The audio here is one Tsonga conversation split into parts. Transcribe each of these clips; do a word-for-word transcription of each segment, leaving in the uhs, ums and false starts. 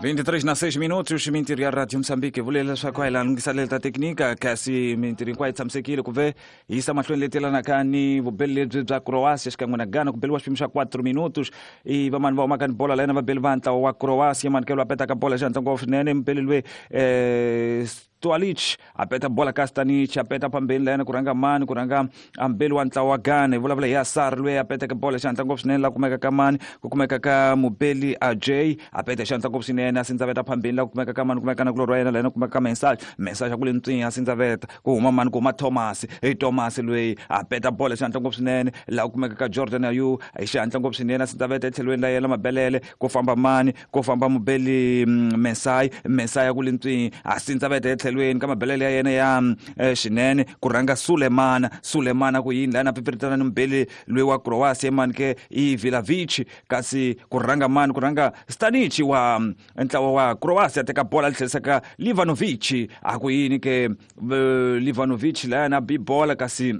vinte e três na seis minutos, mintirho ya Radio Mozambique vule leswaku a hi laha lunghiselelo ta teknika, kasi mintirho hinkwayo yi tshamisekile ku ve hi yisa mahlweni leti yelanaka ni vubeli lebyi bya Croatia xikan'we na Ghana. Ku beliwa xiphemu xa quatro minutos. I vamani va humaka ni bola layena? Vabeli va ntlawa wa Croatia. Manikelo a petaka bola xihatla ngopfu swinene, mubeli loyi um Stualic a peta bola ka Stanic, a peta phambeni layena ku rhanga mani? Ku rhanga mbeli wa ntlawa wa Ghana. Hi vulavula hi Asar loyi a peteke bola xihatla ngopfu swinene. La kumeka ka mani? Ku kumeka ka mubeli Ajay, a peta xihatla ngopfu swinene, a sindzaveta phambeni. La kumeka ka mani? Kumeka na kulorhi wa yena layena, kumeka ka Mensaj. Mensaj a ku le ntswini, a sindzaveta. Ku huma mani? Ku huma Thomas. I Thomas loyi a peta bola xihatla ngopfu swinene. La kumeka ka Jordan Ayew hi xihatla ngopfu swinene, a sindzaveta etlhelweni la yena mabelele. Ku famba mani? Ku famba mubeli Mensai. Mensai a ku le ntswini, a sindzaveta etlhelweni ka mabelele ya yena ya eh, xinene. Ku rhanga Sulemana. Sulemana ku yini lana? Pipiritana ni mubeli loyi wa Croatia, mani ke? I Vilavic. Kasi ku rhanga mani? Ku rhanga Stanic wa ntlawa wa Croatia, teka bola li tlherisa ka Livanovic. A ku yini ke Livanovic layana? Bi bola, kasi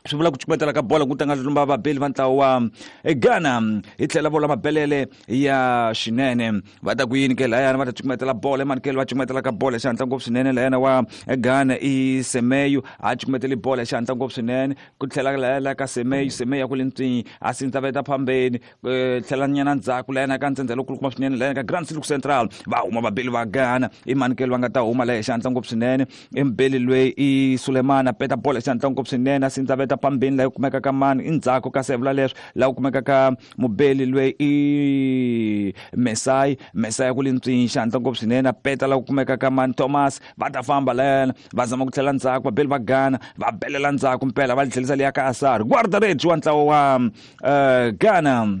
swi vula ku cukumetela ka bola ku tanga lumba vabeli va ntlawa wa Ghana. Hi tlhela vola mabelele ya xinene. Va ta ku yini ke layana? Va ta cukumetela bola. Emanikelo va cukumetela ka bola xihatla ngopfu swinene. Layana wa Ghana i Semeyo, a cukumeteli bola xihatla ngopfu swinene. Ku tlhela laya la ka Semeyo. Semeyo ya ku le ntswini, a sindzaveta phambeni, tlhela nyana ndzhaku layana ka ntsendze lokulukumba swinene, layana ka Grand Silk Central. Va huma vabeli va Ghana. I manikelo va nga ta huma laya xihatla ngopfu swinene? I mbeli loyi i Sulemana, peta bola xihatla ngopfu swinene, a sindzaveta phambeni. Laha kumeka ka mani endzhaku ka sevula leswi? Laha kumeka ka mubeli loyi i Mesai. Mesai ku le ntswini xihatla ngopfu swinene, a peta. Laha kumeka ka mani? Thomas. Va ta famba layana, va zama ku tlhela ndzhaku. Vabeli va Ghana va belela ndzhaku mpela, va tlhelisa liya ka Asar, guarda-redes wa ntlawa wa uh, Ghana.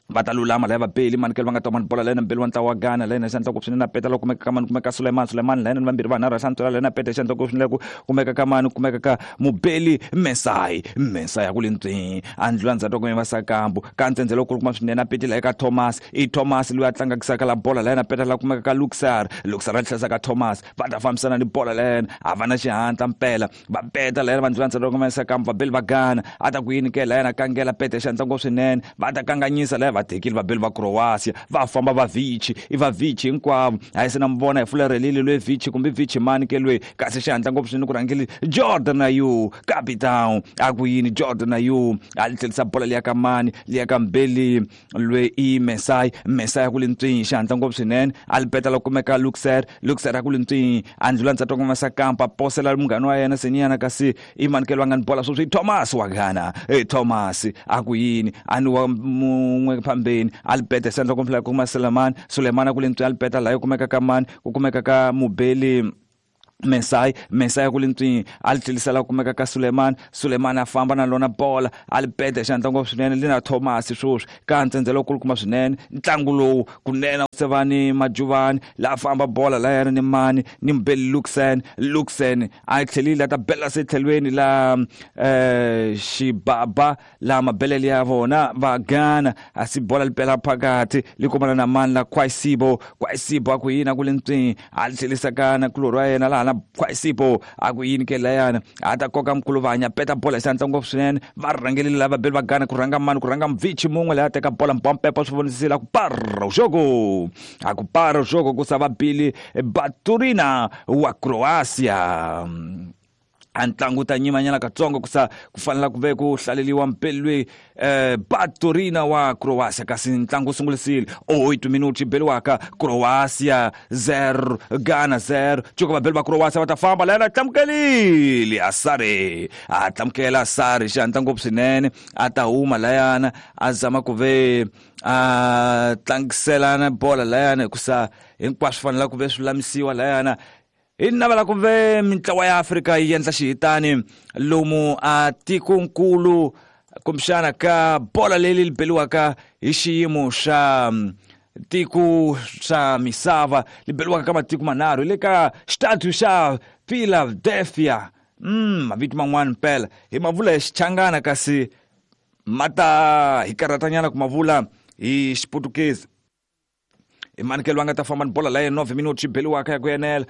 Va ta lulama laya vabeli. Manikelo va nga ta mani bola layena? Mbeli wa ntlawa wa Ghana layena xandla ngopfu swinene, a peta. La kumeka ka mani? Kumeka Suleiman. Suleiman layena ni vambirhi vanharhu hlantswela layena, peta xandla ngopfu swinene. Ku kumeka ka mani? Kumeka ka mubeli Mesai. Mesai a ku le ntswini, a ndlula ndzhaku ka va sakambu ka ntsendze lokulukumba swinene, a petile eka Thomas. I Thomas loyi a tlangakisaka la bola layena, peta. La kumeka ka Luxar. Luxar a tlherisa ka Thomas. Va ta fambisana ni bola layena, a va na xihatla mpela, va peta layena, va ndlula ndzhaku ka sakambu. Vabeli va Ghana a ta ku yini ke layena? Kangela, peta xandla ngopfu swinene. Va ta kanganyisa laya, va tekile vabeli va Croatia. Va famba va Vici, i va Vici hinkwavo. A yi se na mi vona hi fulerhelile loyi Vici kumbe Vici mani ke loyi? Kasi xihatla ngopfu swinene ku rhangile Jordan Ayew, capitão. A ku yini Jordan Ayew? A li tlhelisa bola liya ka mani? Liya ka mbeli loyi i Mesai. Mesai a ku le ntswini xihatla ngopfu swinene, a li peta. La kumeka Luxer. Luxer a ku le ntswini, a ndlula ndzhaku ka Masakampa, posela munghana wa yena Senyana. Kasi i manikelo va nga ni bola sweswi? I Thomas wa Ghana. E Thomas a ku yini? A ni wa mun'we phambeni, a li peta xandla kumbe kuma Suleiman. Suleiman a ku le ntswini, a li peta. Laha kumeka ka mani? Ku kumeka ka mubeli Mesai. Mesai ku le ntswini, a li tlhelisela kumeka ka Suleiman. Suleiman a famba na lona bola, a li peta xihatla ngopfu swinene. Li na Thomas sweswi ka ntsendze lokulukumba swinene. Ntlangu lowu kunene sevani majuvani la famba bola layana ni mani? Ni mubeli Luxen. Luxen a tlhelile, a ta bela se tlhelweni la eh xibaba la mabelele ya vona va Ghana. A si bola li pela phakathi, li kumana na mani la? Kwaisibo. Kwaisibo a ku yini? A ku le ntswini, a li tlhelisa kana kulorhi wa yena laha na Kwaisibo. A ku yini ke layana? A ta koka mkuluvanya, peta bola xihatla ngopfu swinene. Va rhangelile lava vabeli va Ghana. Ku rhanga mani? Ku rhanga Mvichi mun'we leyi a teka bola mpompepo swi vonisile. A ku para jogo, a ku para jogo, ku sa vabili Baturina wa Croatia. A ntlangu ta nyimanyana katsongo ku sa ku fanela ku ve ku hlaleliwa mpeli loyi eh, Baturina wa Croatia. Kasi ntlangu wu sungulisile oito minuti beliwaka, Croatia zero, Ghana zero. Cuka vabeli va Croatia va ta famba layena, tlamukelile Asare. A tlamukela Asare xihatla ngopfu swinene, a ta huma layana, a zama ku ve a tlangiselana bola layana, hikusa hinkwaswo fanela ku ve swi lulamisiwa layana. Hi navela ku ve mintlawa ya Afrika yi endla xihitani lomu a tikonkulu kumbexana ka bola leyi li beliwaka hi xiyimo xa tiko xa misava, li beliwaka ka matiko manharhu hi le ka xitatu xa Philadelphia. mm mavito man'wana mpela hi ma vula hi Xichangana, kasi ma ta hi karhatanyana ku ma vula hi Xiputukezi. I manikelo va nga ta famba ni bola laya, nove minuti beliwaka ya ku enela.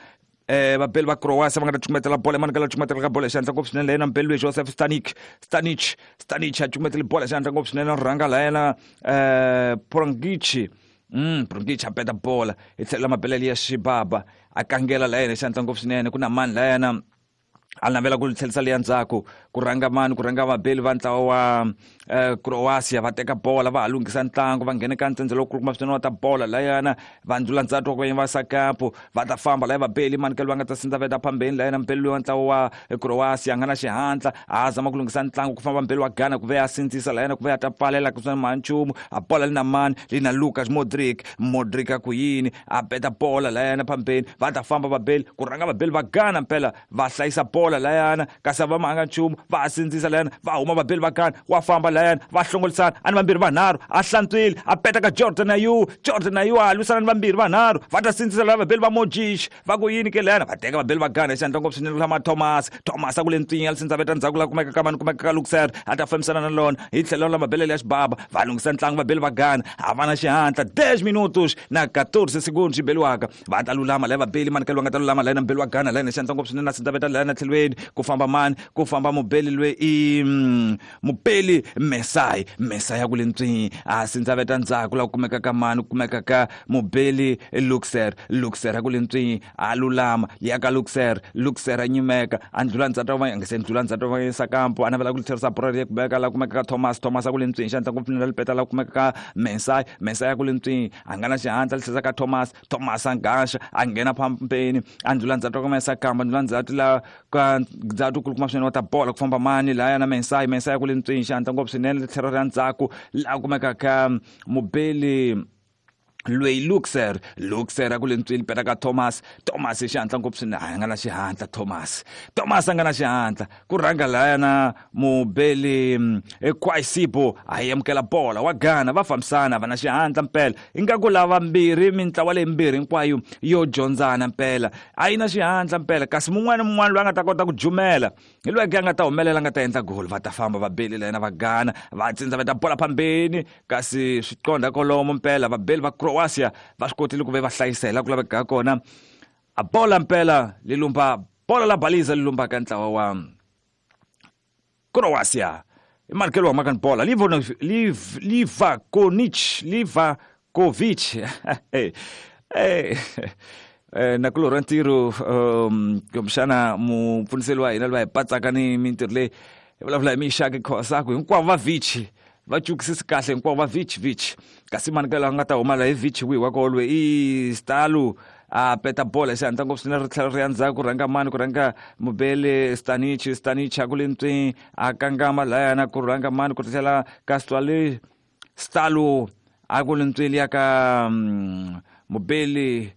eh vabeli va Croatia va nga ta cukumetela bola. Emanikelo cukumetela ka bola xihatla ngopfu swinene layena mbeli loyi Joseph Stanic. Stanic, Stanic a cukumetele bola xihatla ngopfu swinene. Rhanga layena eh Prangichi. Mm Brunkic a peta bola hi tlhela mabelele ya xibaba a kangela la yena xantla ngopfu swinene ku na mani la yena a navela ku tlherisa leya ndzhaku ku rhanga mani ku rhanga vabeli va ntlawa wa Croatia va teka bola va ha lunghisa ntlangu va nghena ka ntsendze lowu kulukumba swinene wa ta bola layana va ndlula ndzhaku wa va sakapo va ta famba laya vabeli mani kelo va nga ta sindza veta phambeni layana mbeli loyi wa ntlawa wa Croatia a nga na xihatla a zama ku lunghisa ntlangu ku famba mbeli wa Ghana ku ve a sindzisa layana ku ve a ta pfalela ku swa manchumu a bola li na mani li na Lucas Modric Modric a ku yini a peta bola layana phambeni va ta famba vabeli ku rhanga vabeli va Ghana mpela va hlayisa bola layana kasi va manga nchumu va sindzisa layana va huma vabeli va Ghana wa famba layana va hlongolisana ani vambirhi vanharhu a hlantswile a peta ka Jordan Ayew Jordan Ayew a lwisana ni vambirhi vanharhu va ta sindzisa lava vabeli va Modric va ku yini ke layana va teka vabeli va Ghana xandla ngopfu swinene lama Thomas Thomas a ku le ntswinya li veta ndzhaku la kumeka ka mani kumeka ka Luxer a ta fambisana na lona hi tlhelo la mabelele ya xibaba va lunghisa ntlangu vabeli va Ghana a va na xihatla dez minutos na quatorze segundos beliwaka va ta lulama laya vabeli mani kelo va nga ta lulama layana mbeli wa Ghana layana xandla ngopfu swinene na sindza veta layana tlhelweni ku famba mani ku famba mubeli loyi i mubeli Mesai Mesai ya ku le ntswini a sindza veta ndzhaku la kumeka ka mani kumeka ka mubeli Luxer Luxer ya ku le ntswini a lulama ya ka Luxer Luxer a nyimeka a ndlula ndzhaku va nga se ndlula ndzhaku va yisa kampo a navela ku tlherisa bora ya kubeka la kumeka ka Thomas Thomas a ku le ntswini xandla ngopfu na lipeta la kumeka ka Mesai Mesai ya ku le ntswini a nga na xihatla tlherisa ka Thomas Thomas a ngaxa a nghena phambeni a ndlula ndzhaku ka Mesai kampo a ndlula ndzhaku la ka ndzhaku kulukumba swinene wa ta bola ku famba mani laya na Mesai Mesai ya ku le ntswini xandla ngopfu swinene tlhelo ra ndzhaku la kumeka ka mubeli loyi Luxer Luxer a ku le ntswini peta ka Thomas Thomas xihatla ngopfu swinene a nga na xihatla Thomas Thomas a nga na xihatla ku rhanga layana mubeli Kwaisibo a amukela bola wa Ghana va fambisana va na xihatla mpela ingaku lava mbirhi mintlawa leyi mbirhi hinkwayo yo dyondzana mpela a yi na xihatla mpela kasi mun'wana mun'wana loyi a nga ta kota ku jumela hi loyi a nga ta humelela a nga ta endla gol va ta famba vabeli layana va Ghana va tsindza va ta bola phambeni kasi swi qondha kolomo mpela vabeli va Croatia va swi kotile ku ve va hlayisela ku laveka kona a bola mpela li lumba bola la baliza li lumba ka ntlawa wa Croatia i markelo wa maka bola Livakovic Livakovic eh eh nakulorha ntirho kumbexana mupfuniseli wa hina loyi hi patsaka ni mintirho leyi hi vulavula hi Mixaki Khosaku hinkwavo va Vici va cukisisi kahle hinkwavo va Vici Vici kasi mani ka laha nga ta huma la hi Vici wihi wa kolwe i Stalo a peta bola xihatla ngopfu swinene ri tlhela ri ya ndzhaku ku rhanga mani ku rhanga mubeli Stanic Stanic a ku le ntswini a kangama layana ku rhanga mani ku tlhela ka Stalo Stalo a ku le ntswini ya ka mubeli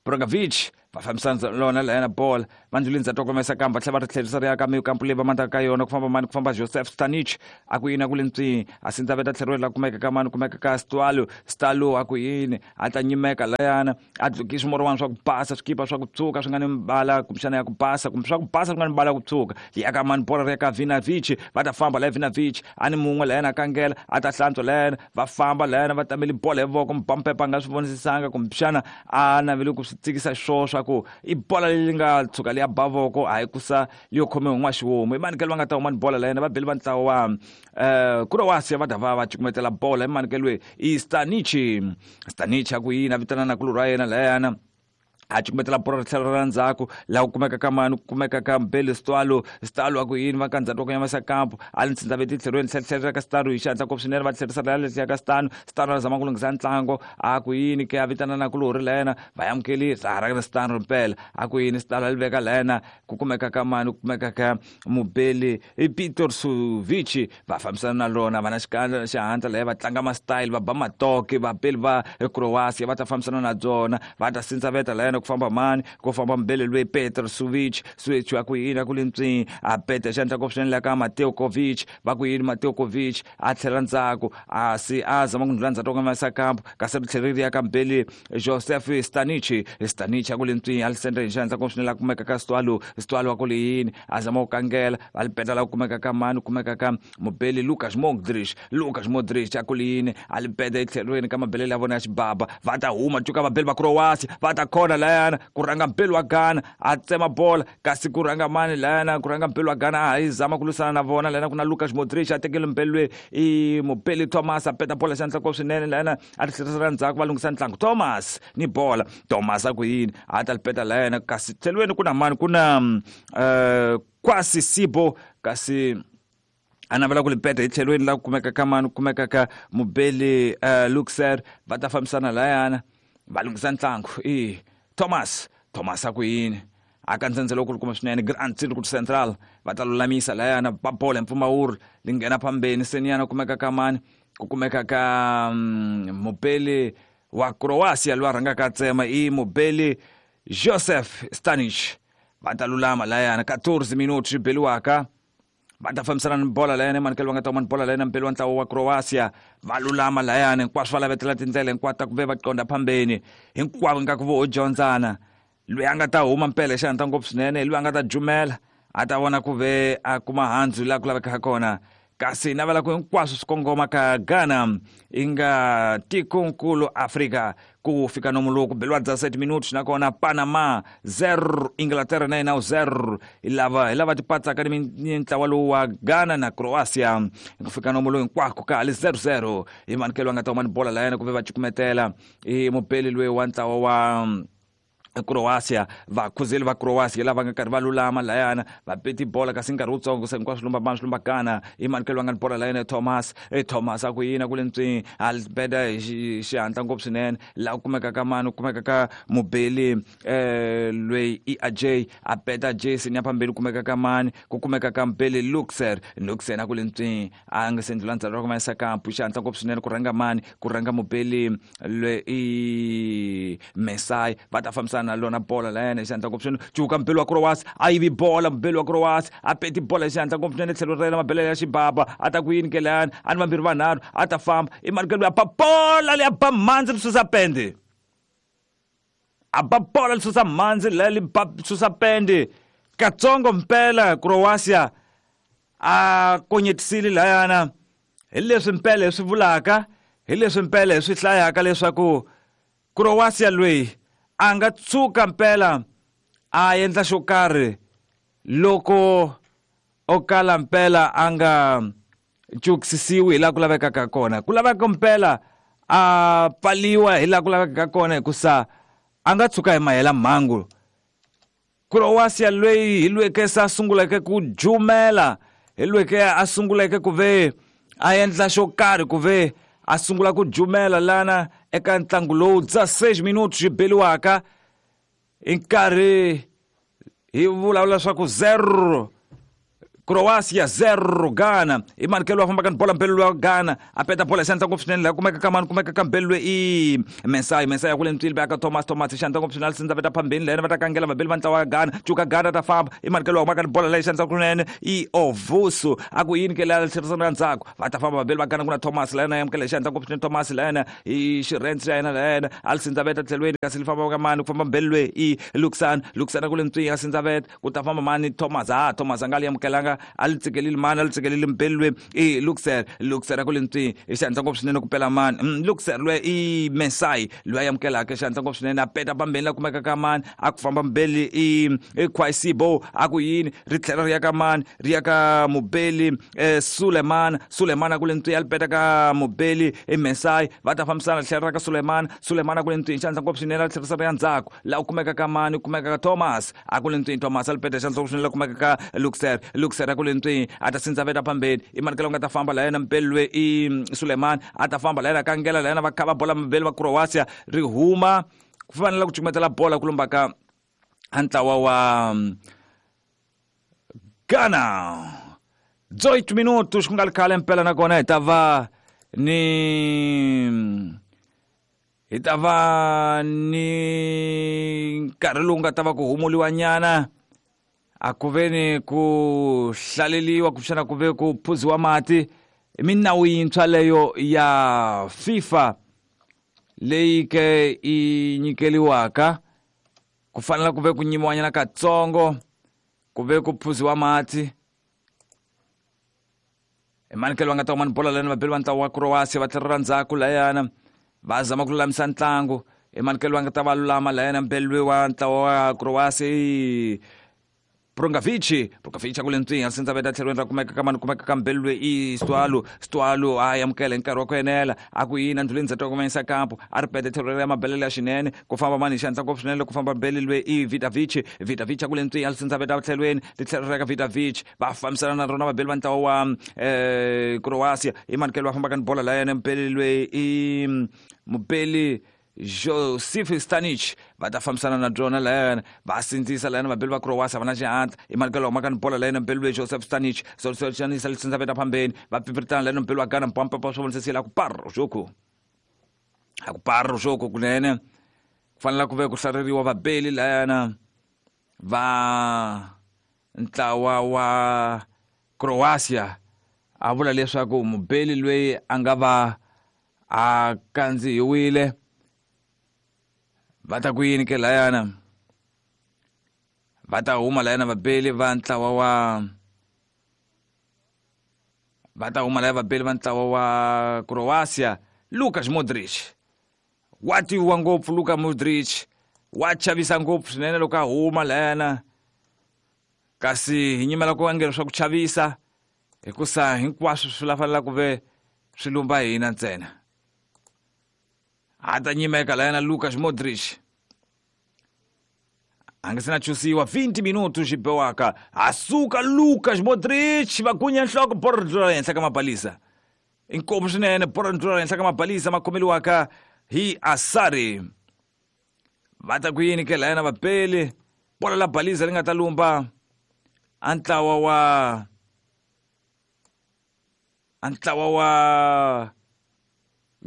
Brogovic va fambisana lona layana bola va ndluleni ndzhaku komesa kamba tlhela va ri tlherisa ri ya ka mikampu leyi va mandaka ka yona ku famba mani ku famba Joseph Stanic a ku yini a ku le ntswini a sindza veta tlheriwe la kumeka ka mani kumeka ka Stalo Stalo a ku yini a ta nyimeka layana a dlukisa swimorwana swa ku basa swikipa swa ku tshuka swi nga ni mbala kumbexana ya ku basa kumbe swa ku basa swi nga ni mbala ya ku tshuka ya ka mani bola ri ya ka Vinavic va ta famba laya Vinavic a ni mun'we layana a kangela a ta hlantswa layana va famba layana va tamele bola hi voko mubampepa a nga swi vonisisanga kumbexana a navele ku swi tsikisa swo swa ku i bola leyi nga tshuka leya ba voko a hi kusa leyo khomiwa hi n'waxiwomu i mani ke loyi va nga ta huma ni bola la yena va beli va ntlawa wa um Croatia va ta va va cukumetela bola i mani ke loyi i Stanic Stanic a ku yini a vitana nakulorhi wa yena layana a cukumetela bola ri tlhela ra ndzhaku laha ku kumeka ka mani ku kumeka ka Mbeli Stalo Stalo a ku yini va ka ndzhaku wa ku yamasa kampo a li ntsindza veti tlherweni tlhelela ka Stalo hi xihatla ngopfu swinene va tlherisa laya letiya ka Stano Stano a zama ku lunghisa ntlangu a ku yini ke a vitana nakulorhi la yena va amukeli ra ra Stano mpela a ku yini Stalo a li veka la yena ku kumeka ka mani ku kumeka ka Mubeli Peter Suvic va fambisana na lona va na xikandza xihatla laya va tlanga ma-style va ba matoke vabeli va Croatia va ta fambisana na byona va ta sindza veta la yena ku famba mani ku famba mbele loyi Petr Suvic Suvic a ku yini a ku le ntswini a peta xandla ngopfu swinene la ka Mateo Kovic va ku yini Mateo Kovic a tlhela ndzhaku a si a zama ku ndlula ndzhaku ka masa kampo kasi ri tlhela ri ya ka mbele Joseph Stanic Stanic a ku le ntswini a li sendra hi xandla ngopfu swinene la kumeka ka Stalo Stalo a ku le yini a zama ku kangela va li peta la ku kumeka ka mani ku kumeka ka mubeli Lucas Modric Lucas Modric a ku le yini a li peta etlhelweni ka mabelele ya vona ya xibaba va ta huma cuka vabeli va Croatia va ta khona la layana ku rhanga mpelo wa Ghana a tsema bola kasi ku rhanga mani layana ku rhanga mpelo wa Ghana a yi zama ku lwisana na vona layana ku na Lucas Modric a tekele mpelo loyi i Mupeli Thomas a peta bola xandla ko swinene layana a ri tlherisela ndzhaku va lunghisa ntlangu Thomas ni bola Thomas a ku yini a ta peta layana kasi tlhelweni ku na mani ku na uh, Kwasi Sibo kasi a navela ku lipeta hi tlhelweni la ku kumeka ka mani ku kumeka ka Mubeli uh, Luxer va ta fambisana layana va lunghisa ntlangu i Thomas Thomas a ku yini a ka ndzhendzelo ku kuma swinene Grand Circuit Central va ta lulamisa layana ba bola mpfumawuro li nghena phambeni seniyana kumeka ka mani ku kumeka ka um, Mubeli wa Croatia loyi a rhangaka a tsema i Mubeli Joseph Stanic va ta lulama layana quatorze minutos swi beliwaka va ta fambisana ni bola layana emanikelo va nga ta huma ni bola layana mpelo wa ntlawa wa Croatia va lulama layana hinkwaswo va lavetela tindlela hinkwato ta ku ve va qonda phambeni hinkwavo ingaku vo ho dyondzana loyi a nga ta huma mpela hi xihatla ngopfu swinene loyi a nga ta jumela a ta vona ku ve a kuma handzu laha ku lavekaka kona kasi navela ku hinkwaswo swi kongoma ka Ghana i nga tikonkulu Afrika ku fika nomu lowu ku beliwa dezessete minutos nakona Panama zero Inglaterra na yena zero hi lava hi lava tipatsaka ni ntlawa lowu wa Ghana na Croatia ku fika nomu lowu hinkwako ka hali zero zero hi manikelo va nga ta huma ni bola layana ku ve va cukumetela i mupeli loyi wa ntlawa wa Croatia vakhuzeli va Croatia lava nga karhi va lulama layana va peti bola kasi nkarhi wutsongo se hinkwaswo lumba mani swi lumba Ghana i manikelo va nga ni bola layana Thomas e Thomas a ku yini ku le ntswini a beda hi xihatla ngopfu swinene laha ku kumeka ka mani ku kumeka ka Mubeli eh loyi i Ajay a beda Jason ya phambili ku kumeka ka mani ku kumeka ka Mubeli Luxer Luxer a ku le ntswini a nga se ndlula ndzhaku ra ku mayisa kampu xihatla ngopfu swinene ku rhanga mani ku rhanga Mubeli loyi i Mesai va ta fambisana lona bola layana xihatla ngopfu swinene cuka mpelo wa Croatia a yivi bola mpelo wa Croatia a peti bola hi xihatla ngopfu swinene tlhelo ra yena mabele ya xibaba a ta ku yini ke layana a ni vambirhi vanharhu a ta famba i manikelo ya ba bola leya ba mhandzi ri susa pende a ba bola li susa mhandzi leya li ba susa pende katsongo mpela Croatia a konyetisile layana hi leswi mpela hi swi vulaka hi leswi mpela hi swi hlayaka leswaku Croatia loyi a nga tshuka mpela a endla xo karhi loko o kala mpela a nga cukisisiwi hi laha ku lavekaka kona ku laveka mpela a pfaliwa hi laha ku lavekaka kona hikusa a nga tshuka hi mahela mhangu Croatia loyi hi lweke se a sunguleke ku jumela hi lweke a sunguleke ku ve a endla xo karhi ku ve a sungula ku jumela lana eka ntlangu lowu dezesseis minutos swi beliwaka hi nkarhi hi vulavula leswaku zero Croatia zero Ghana i manikelo wa fambaka ni bola mpelo wa Ghana a peta bola xandla ngopfu swinene laha kumeka ka mani kumeka ka mpelo i Mesai Mesai ya ku le ntswili va ka Thomas Thomas xandla ngopfu swinene sindza veta phambeni layena va ta kangela vabeli va ntlawa wa Ghana cuka Ghana ta famba i manikelo wa humaka ni bola leyi xandla kunene i Ovusu a ku yini ke leya tlherisana ndzhaku va ta famba vabeli va Ghana ku na Thomas layena ya amukela xandla ngopfu swinene Thomas layena i xirhensi xa yena layena a li sindza veta tlhelweni kasi li famba ka mani ku famba mpelo loyi i Luxan Luxan ku le ntswini a sindza veta ku ta famba mani Thomas ha Thomas a nga li amukelanga a li tsikelile mani a li tsikelile mpelo loyi i Luxer Luxer a ku le ntswini hi xihatla ngopfu swinene ku pela mani Luxer loyi i Mesai loyi a amukelaka xihatla ngopfu swinene a peta pambeni la kumeka ka mani a ku famba mbeli i i Kwasibo a ku yini ri tlhela ri ya ka mani ri ya ka Mubeli eh, Suleiman Suleiman a ku le ntswini a li peta ka Mubeli i Mesai va ta fambisana tlhela ra ka Suleiman Suleiman a ku le ntswini xihatla ngopfu swinene a tlherisa ri ya ndzhaku laha ku kumeka ka mani ku kumeka ka Thomas a ku le ntswini Thomas a li peta xihatla ngopfu swinene la kumeka ka Luxer Luxer ku le ntswini a ta sindza veta phambeni i manikelo nga ta famba la yena mpelo loyi i Suleiman a ta famba la yena kangela la yena va kha va bola mabeli va Croatia ri huma ku fanele ku cukumetela bola ku lumba ka ntlawa wa Ghana dezoito minutos ku nga ri khale mpela nakona hi ta va ni hi ta va ni nkarhi lowu nga ta va ku humuliwa nyana a ku ve ni ku hlaleliwa kumbexana ku ve ku phuziwa mati i minawu yintshwa leyo ya FIFA leyi ke i nyikeliwaka ku fanela ku ve ku nyimiwanyana katsongo ku ve ku phuziwa mati emanikelo va nga ta huma ni bola lani vabeli va ntlawa wa Croatia va tlhelela ndzhaku layana va zama ku lulamisa ntlangu Emanuel wa nga ta va lulama layena mbeli wa ntlawa wa Croatia Prungavici Prungavici kule ntswinya sindza veta tlhelweni ra kumeka ka mani kumeka ka mbeli i Stwalo Stwalo a amukela hi nkarhi wa ku enela a ku yina ndluleni ndzhato wa kumanyisa kampo a ri pete tlhelo ra mabelele ya xinene ku famba mani xandla ngopfu swinene ku famba mbeli lwe i Vitavici Vitavici kule ntswinya sindza veta tlhelweni titlhelo ra ka Vitavici va fambisana na rona vabeli va ntlawa wa eh Croatia i manikelo va fambaka ni bola la yena mbeli lwe i mubeli Josif Stanic va ta fambisana na byona layena va sindzisa layena vabeli va Croatia va na xihatla i manikelo humaka ni bola layena mbeli lweyi Joseph Stanic soxanisa lisindza veta phambeni va pipirtana layena mbeli wa Ghana mpampepa swo vonisisile a ku parro xoku a ku parro xoku kunene ku fanele ku ve ku hlareriwa vabeli layena va ntlawa wa Croatia a vula leswaku mubeli loyi a nga va a kandzihiwile va ta ku yini ke layana va ta huma layana vabeli va ntlawa wa va ta huma laya vabeli va ntlawa wa Croatia Luka Modric wa tiviwa ngopfu Luka Modric wa chavisa ngopfu swinene loko a huma layana kasi hi nyimela ku vangela swa ku chavisa hikusa hinkwaswo swi la ku ve swi lumba hina ntsena a ta nyimeka layena Luka Modric a nga se na chusiwa twenty minuto xi biwaka a suka Luka Modric va gunya nhloko bolo ri ndlula henhla ka mabalisa inkomu swinene bolo ri ndlula henhla ka mabalisa ma khomeliwaka hi Asari va ta ku yini ke layena vapeli bolo la balisa ri nga ta lumba a ntlawa wa a ntlawa wa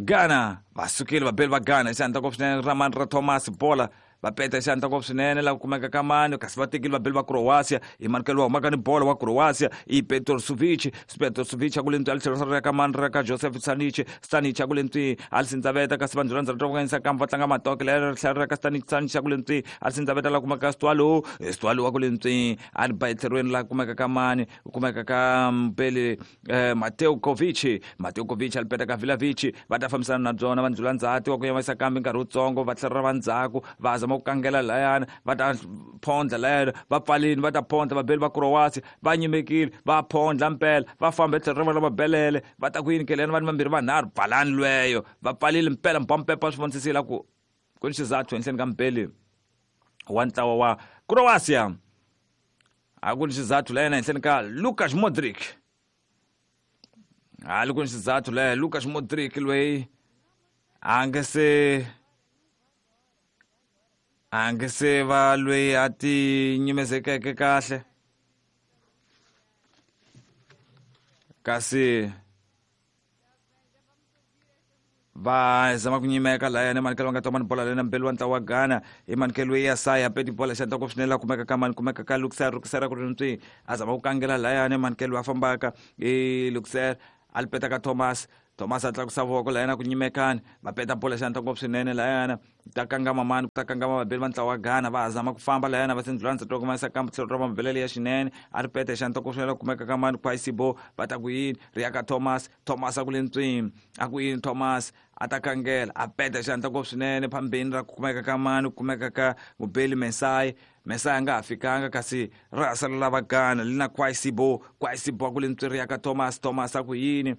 Ghana va sukile vabeli va Ghana xandla ngopfu swinene ra mani ra Thomas bola va peta xandla ngopfu swinene la kumeka ka mani kasi va tekile vabeli va Croatia i manikelo wa humaka ni bola wa Croatia i Petrovic Petrovic a ku le ntwi a tlhelo ra ka mani ra ka Joseph Stanic Stanic a ku le ntwi a sindzaveta kasi va ndlula ndzhaku ra ka va tlanga matoke leri tlhelo ra ka Stanic Stanic a ku le ntwi a sindzaveta la kumeka Stwalo Stwalo wa ku le ntwi a ri ba etlhelweni la kumeka ka mani kumeka ka mbeli eh, Mateo Kovic Mateo Kovic a li peta ka Vlahovic va ta fambisana na byona va ndlula ndzhati wa ku yavanyisa kambe nkarhi wutsongo va tlhela va ndzhaku va zama ku kangela layana va ta phondla layana va pfalini va ta phondla vabeli va Croatia va nyimekile va phondla mpela va famba etlhelo ra vona va belele va ta ku yini keleni vanhu vambirhi vanharhu pfalani lweyo va pfalile mpela mpampepa swi vonisisile ku ku ni xizathu henhleni ka mbeli wa ntlawa wa Croatia a ku ni xizathu layena henhleni ka Luka Modric a li ku ni xizathu laya Luka Modric loyi a nga se a nga se va loyi a ti nyimezekeke kahle kasi va zama ku nyimeka layani manikelo va nga toma ni bola lena mbeli wa ntlawa wa Ghana i manikelo ya saya peti bola xandla ngopfu swinene la kumeka ka mani kumeka ka Luxer Luxer ku ri ntswi a zama ku kangela layani manikelo a fambaka i Luxer a li peta ka Thomas Thomas a tlakusa voko layana ku nyimekani va peta bola xandla ngopfu swinene layana ta kangama mani ta kangama vabeli va ntlawa wa Ghana va zama ku famba layana va sindlula ndzhaku kuma yisa kambe tlhelo ra mabelele ya xinene a ri peta xandla ngopfu swinene kumeka ka mani Kwaisibo va ta ku yini ri ya ka Thomas Thomas a ku le ntswini a ku yini Thomas a ta kangela a peta xandla ngopfu swinene phambeni ra ku kumeka ka mani ku kumeka ka mubeli Mesai Mesai a nga ha fikanga kasi ra ha salela va Ghana li na Kwaisibo Kwaisibo a ku le ntswini ri ya ka Thomas Thomas a ku yini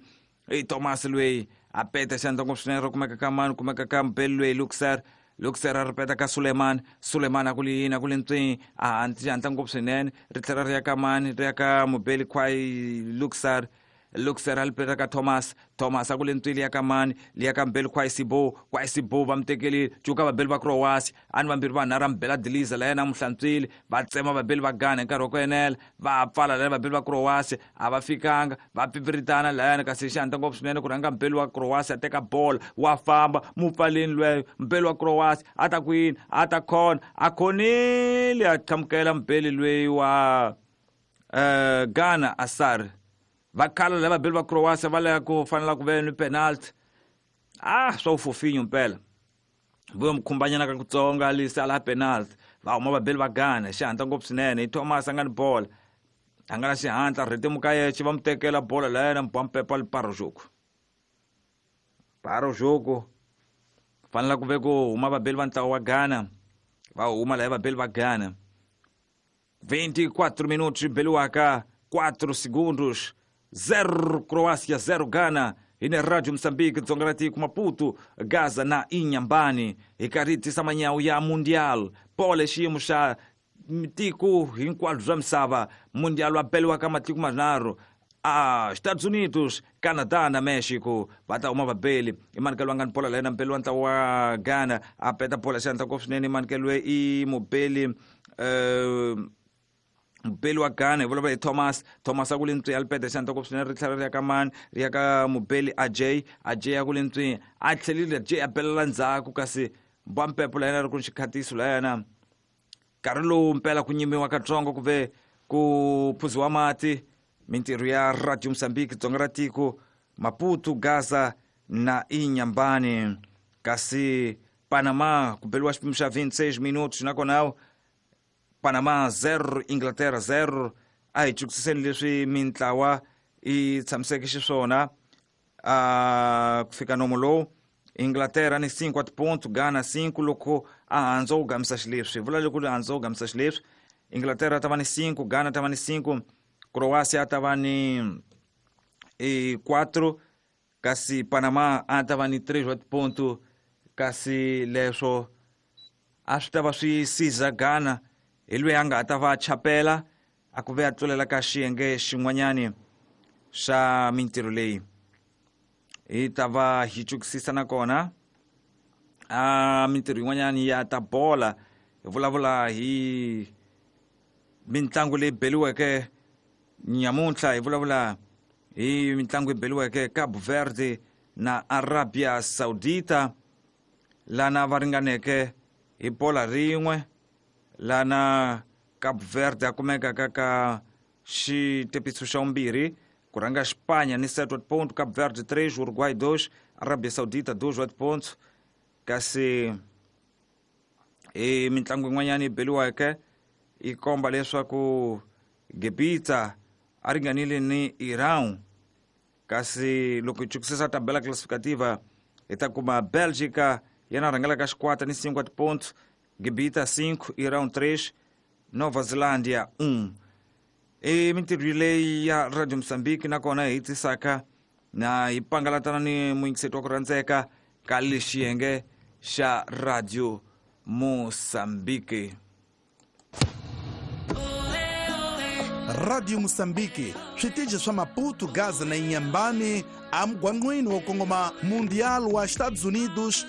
i Thomas loyi a peta xandla ngopfu swinene ra kumeka ka mani kumeka ka mbeli loyi Luxer Luxer a ri peta ka Suleiman Suleiman a ku li yini a ku le ntswini a xandla ngopfu swinene ri tlhela ri ya ka mani ri ya ka mubeli Kwai Luxer Luxer a li peta ka Thomas Thomas a ku le ntswini ya ka mani liya ka mbeli Kwaisibo Kwaisibo va mu tekelile cuka vabeli va Croatia a ni vambirhi vanharhu a mubela diliza la yena a mu hlantswile va tsema vabeli va Ghana hi nkarhi wa ku enela va pfala laya vabeli va Croatia a va fikanga va pipiritana layana kasi xandla ngopfu swinene ku rhanga mbeli wa Croatia a teka bola wa famba mu pfaleni lweyo mbeli wa Croatia a ta ku yini a ta khona a khonile a qhamukela mbeli loyi wa eh Ghana Asar va khala lava vabeli va Croatia va laya ku fanela ku ve ni penalty ah swa ufofinyo mpela vuyo mukhumbanyana ka kutsonga lisa la penalty va huma vabeli va Ghana xihatla ngopfu swinene i Thomas a nga ni bola a nga na xihatla rhetimuka yexe va mu tekela bola la yena mpampepa li paro jogo paro jogo Fanela ku ve ku huma vabeli va ntlawa wa Ghana, va huma laha vabeli va Ghana. vinte e quatro minutos beliwaka quatro segundos, zero Croácia, zero Ghana. Hi ne Radio Moçambique, Dzonga ra tiko, Maputo, Gaza na Inhambane. Hi karhi hi tisa manyawu ya Mundial. Pole xiyimo xa tiko hinkwalo bya misava. Mundial wa beliwaka matiko manharhu, a Estados Unidos, Canadá na México. Va ta huma vabeli. I manikelo wa nga ni bola la yena mubeli wa ntlawa wa Ghana, a peta bola xandla ngopfu swinene. I manikelo i mubeli eh mubeli wa Ghana, hi vulavula hi Thomas. Thomas a ku le ntswi, a li peta xandla ngopfu swinene, ri tlhela ri ya ka mani, ri ya ka mubeli Ajay. Ajay a ku le ntswi, a tlhelile Ajay a belela ndzhaku, kasi mbwa mpepo la yena ri ku ni xikhatiso la yena. Nkarhi lowu mpela ku nyimiwa katsongo ku ve ku phuziwa mati. Mintirho ya Radio Moçambique, Dzonga ra tiko, Maputo, Gaza na Inhambane. Kasi Panama ku beliwa xipimo xa vinte e seis minutos, nakona Panama zero, Inglaterra zero. A hi chukisiseni leswi mintlawa yi tshamiseke xiswona a ku fika nomo lowu. Inglaterra ni cinco wa tiponto, Ghana cinco, loko a handza wu gamisa xileswi. Vula loko handza wu gamisa xileswi, Inglaterra ta va ni cinco, Ghana ta va ni cinco, Croácia ta va ni e quatro, kasi Panama a ta va ni três wa tiponto. Kasi leswo a swi ta va swi siza Ghana hi loyi a nga ta va chapela a ku ve a tlulela ka xiyenge xin'wanyani xa mintirho leyi. Hi ta va hi chukisisa nakona a mintirho yin'wanyani ya ta bola. Hi vulavula hi mitlangu leyi beliweke nyamuntlha, hi vulavula hi mitlangu yi beliweke Cabo Verde na Arabia Saudita, lana va ringaneke hi bola rin'we, lana Cabo Verde a kumeka ka ka xitepiso xa vumbirhi, ku rhanga Espanha ni sete wa tiponto, Cabo Verde três, Uruguai dois, Arabia Saudita dois wa tiponto. Kasi hi mitlangu yin'wanyana yi beliweke yi komba leswaku Gibita a ringanile ni Iran. Kasi loko hi chukisisa tabela classificativa hi ta kuma Bélgica yena rhangelaka xikwata ni cinco wa tiponto, Gibita cinco, Iran três, Nova Zelândia um. I mintirho leyi ya Radio Moçambique nakona hi tisaka na hi pangalatana ni muyingiseti wa ku rhandzeka ka lexiyenge xa Radio Moçambique. Radio Moçambique, switichi swa Maputo, Gaza na Inhambane, amugwangwini wo kongoma Mundial wa Estados Unidos.